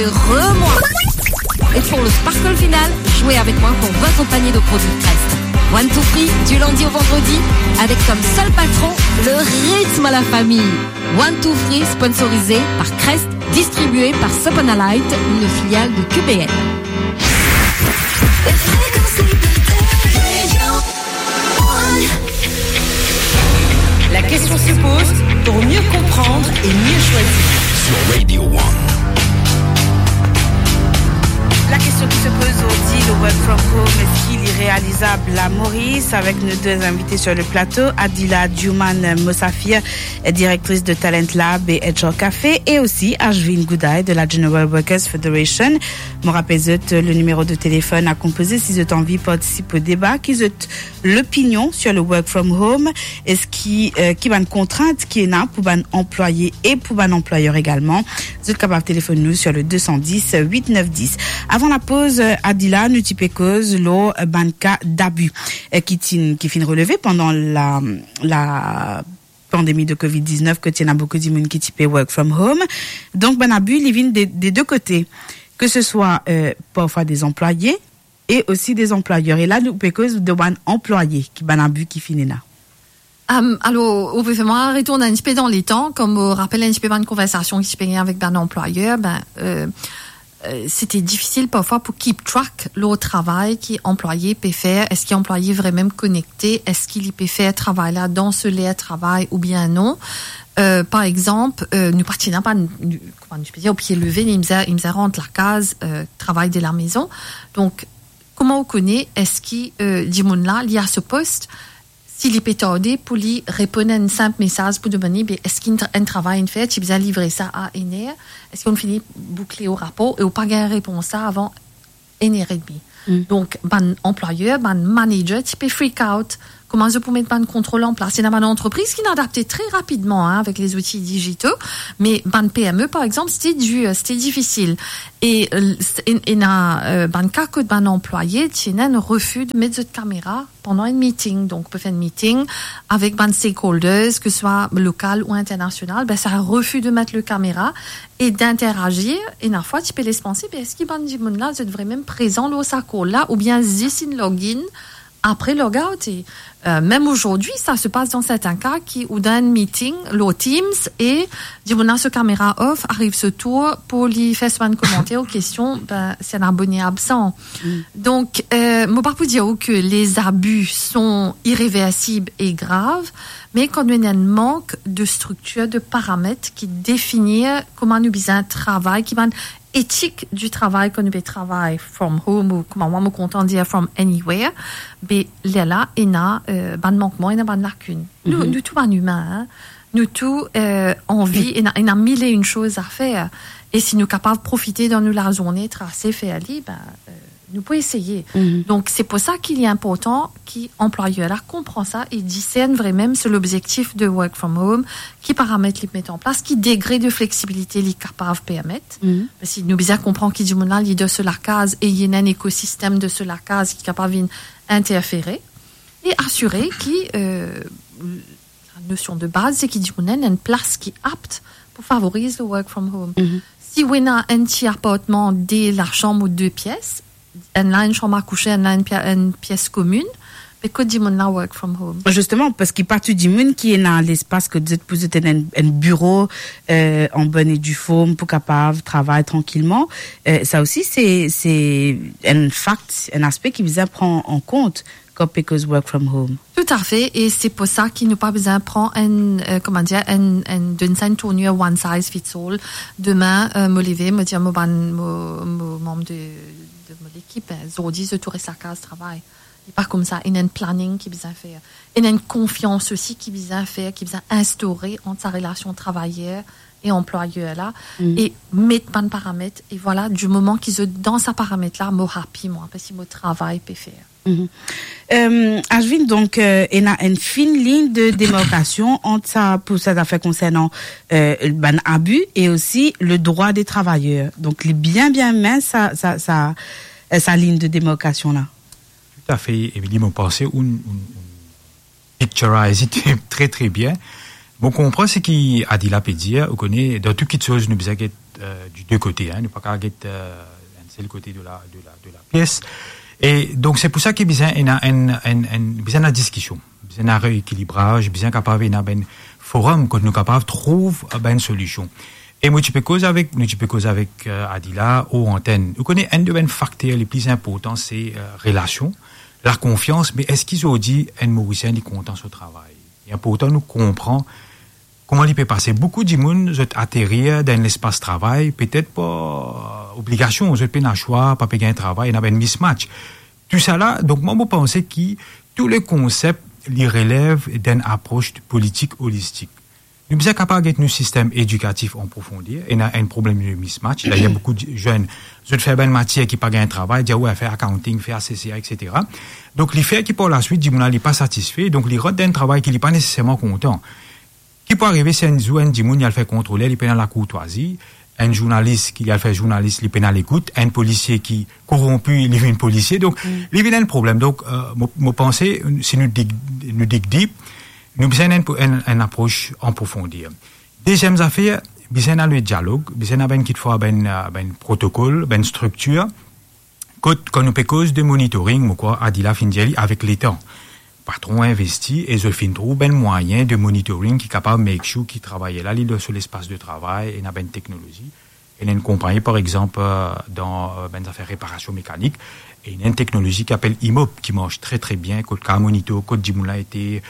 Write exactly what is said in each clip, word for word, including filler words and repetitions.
Re-moi. Et pour le sparkle final, jouez avec moi pour votre panier de produits Crest. One Two Free, du lundi au vendredi, avec comme seul patron le rythme à la famille. One Two Free, sponsorisé par Crest, distribué par Sopanalite, une filiale de Q B L. La question se pose pour mieux comprendre et mieux choisir. Sur Radio One. La question qui se pose aujourd'hui, le work from home, est-ce qu'il est réalisable à Maurice, avec nos deux invités sur le plateau, Adila Djouman Mosafir, directrice de Talent Lab et H R Café, et aussi Ashwin Goudaï de la General Workers Federation. Mo rapel zot, le nimero de telefon a konpoze si zot anvi partisip o deba, ki zot lopinion sur le work from home, eski, euh, ki bann kontrint ki ena pou bann anplwaye e pou bann anplwayer egalman. Zot kapav telefonn nou sur le deux cent dix, huit neuf dix. Avan lapoz, euh, Adila, nou ti pe koz lor, euh, bann ka dabi, euh, ki ti, ki finn releve pandan la, la pandemi de covid diznef, kot ti ena boukou dimoun ki ti pe work from home. Donk, bann abi, li vinn de, de de kote, ke se swa, euh, parfwa de anplwaye e osi de anplwayer. E la, nou pe koz de bann anplwaye, ki bann abi ki finn ena. Euh, alors, ou pe fer mwa retourn enn tipe dan letan, kom mo rapel enn tipe bann konversasion ki ti pe gagn avek bann anplwayer, ben, euh, euh, sete difisil parfwa pou keep track lor travay ki anplwaye pe fer. Eski anplwaye vremem konekte? Eski li pe fer travay la dan so ler travay oubien non? Euh, par exanp, euh, nou pa ti ena bann, nou, kouma nou pe dir, o pie leve, li bizin, li bizin rant lakaz, euh, travay de la maison. Donk, kouma ou kone eski, euh, dimoun la, li a so post, si li pe tarde pou li reponn enn sinp mesaz pou demann li, be, eski enn tra-, enn travay inn fer, ti bizin livre sa a enn er, eski ou fini boukle ou rapor, e ou pa gagn repons sa avan enn er edmi. Mm. Donk, bann anplwayer, bann manager, ti pe freak out. Kouma zot pou met bann kontrol an plas? Ena bann antrepriz ki inn adapte tre rapidman, hein, avek lezouti digito, me bann P M E, par exanp, sete dir, sete difisil. E, euh, s-, en-, ena, euh, bann ka kot bann anplwaye ti ena enn refi de met zot kamera pandan enn meeting. Donk, pe fer enn meeting avek bann stakeholders, ke swa lokal ou internasional, ben, sa refi de met le kamera e d'interagir. Ena fwa, ti pe les panse, be, eski bann dimoun la, zot vremem prezan lor sa call la, oubien zis inn log in apre log out? E, euh, mem azordi, sa se pas dan sertin ka ki ou dan enn meeting lor Teams e dimoun la so kamera off, ariv so tour pou li fer so bann komanter ou kestion, ben, se enn abone absan. Mm. Donk, euh, mo pa pou dir ou ke les abus sont irréversibles et graves, me kan nou ena enn mank de striktir, de paramet ki definir kouma nou bizin travay, ki bann etik di travay kan nou pe travay from home ou, kouma mwa mo kontan dir, from anywhere, be, lerla ena, euh, bann mankman, ena bann lakin. Nou, mhm, nou tou bann imin, hein. Nou tou, euh, anvi, ena, ena mil e enn soz a fer. E si nou kapav profite dan nou lazourne, trase, fer li, ben, euh, nou pou eseye. Mhm. Donk, se pou sa ki li inportan ki anplwayer la konpran sa e disern vremem so lobzektif de work from home, ki paramet li met an plas, ki degre de fleksibilite li kapav permet. Mhm. Parski nou bizin konpran ki dimoun la, li dan so lakaz e li ena enn ekosistem de so lakaz ki kapav vinn interfere. E asire ki, euh, la nosion de baz, se ki dimoun la ena enn plas ki apt pou favoriz le work from home. Mhm. Si ou ena enn ti apartman de lasam ou de pies, enn la enn sam a kouse, enn la enn pie-, enn pies komin, be kot dimoun la work from home? Zisteman, parski pa tou dimoun ki ena lespas kot zot pou zot ena enn, enn biro, euh, an bonn e di form pou kapav travay trankilman. Euh, sa osi, se, se enn fakt, enn aspe ki bizin pran an kont kan pe koz work from home. Toutafe, e se pou sa ki nou pa bizin pran enn, euh, kouma dir, enn, enn, donn sa enn tournir one size fits all. Demin, euh, mo leve, mo dir mo bann, mo, mo manm de, de mo lekip, ben, zordi, zot tou res lakaz travay. E pa koumsa, ena enn planning ki bizin fer. Ena enn konfians osi ki bizin fer, ki bizin instaure ant sa relasion travayer e anplwayer la, mm, e met bann paramet, e vwala, di moman ki zot dan sa paramet la, mo happy, mwa, parski mo travay pe fer. Mhm. Euh, Ashwin, donk, euh, ena enn fin lign de demarkasion ant sa, pou sa zafer konsernan, euh, bann abi e osi le drwa de travayer. Donk, li bien, bien mins sa, sa, sa, euh, sa lign de demarkasion la. Toutafe, Emily, mo panse ou, ou, ou picturize it tre, tre bien. Mo konpran seki Adila pe dir, ou kone, dan tou kiksoz, nou bizin get euh, du deux côtés, hein. Nou pa kapav get, euh, enn sel kote de la, de la, de la pies. E donk, se pou sa ki bizin ena enn, enn, enn, bizin ena diskision, bizin ena reekilibraz, bizin kapav ena bann forum kot nou kapav trouv, euh, bann solision. E mo ti pe koz avek, nou ti pe koz avek, euh, Adila o antenn. Ou kone, enn de bann fakter le pli inportan, se, euh, relasion, lakonfians, me eski zordi enn Morisien li kontan so travay? Li inportan nou konpran kouma li pe pase. Boukou dimoun, zot aterir dan enn lespas travay, petet par, euh, obligasion, zot pena swa, pa pe gagn travay, ena bann mismatch. Tousala, donk mwa, mo panse ki tou le konsep, li relev dan enn apros politik olistik. Nou bizin kapav get nou sistem edikatif an profonder, ena enn problem de mismatch. Dayer, boukou de zenn, zot fer bann matier ki pa gagn travay, dir, "Wi, fer accounting, fer C C A, et cetera." Donk, li fer ki par laswit, dimoun la, li pa satisfe, donk li rant dan enn travay ki li pa neseserman kontan. Ki pou arive si enn zour enn dimoun, li al fer kontroler, li pena lakourtwazi, enn zournalis ki li al fer zournalis, li pena lekout, enn polisie ki koronpi, li vinn polisie. Donk, li vinn enn problem. Donk, euh, mo, mo panse, si nou dig, nou dig dip, nou bizin enn, enn, enn apros an profonder. Deziem zafer, bizin ena le dialog, bizin ena bann kitfwa bann, euh, bann protokol, bann striktir. Kot, kan nou pe koz de monitoring, mo krwar Adila finn dir li, avek letan, patron investi e zot finn trouv bann mwayin de monitoring ki kapav make sure ki travayer la, li dan so lespas de travay, ena bann teknolozi. Ena enn konpagni, par exanp, euh, dan, euh, bann zafer reparasion mekanik, e ena enn teknolozi ki apel Imop, ki mars tre, tre bien, kot kapav monitor kot dimoun la ete,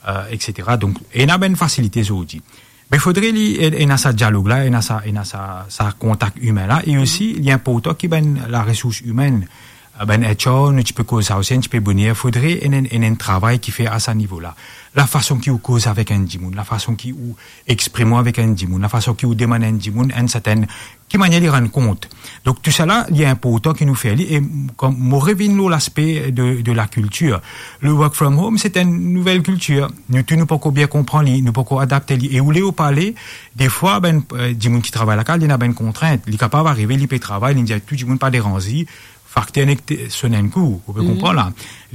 euh, et cetera. Donk, ena bann fasilite zordi. Me fodre li, e-, ena sa dialog la, ena sa, ena sa, sa kontak imin la, e osi, li inportan ki bann laresours imenn, bann H R, nou ti pe koz sa osi enn tipe boner, fodre ena enn, ena enn travay ki fer a sa nivo la. Lafason ki ou koz avek enn dimoun, lafason ki ou exprim ou avek enn dimoun, lafason ki ou demann enn dimoun enn sertenn, ki manier li rann kont. Donk, tousala, li inportan ki nou fer li, e kom mo revinn lor laspe de, de lakiltir. Le work from home, se enn nouvel kiltir. Nou tou, nou pankor bien konpran li, nou pankor adapte li. E ou le ou pa le, defwa, bann, euh, dimoun ki travay lakaz, li ena bann kontrint. Li kapav arive, li pe travay, li dir tou dimoun pa deranz li, fakter nek te-, sonn enn kou, ou pe konpran la. Li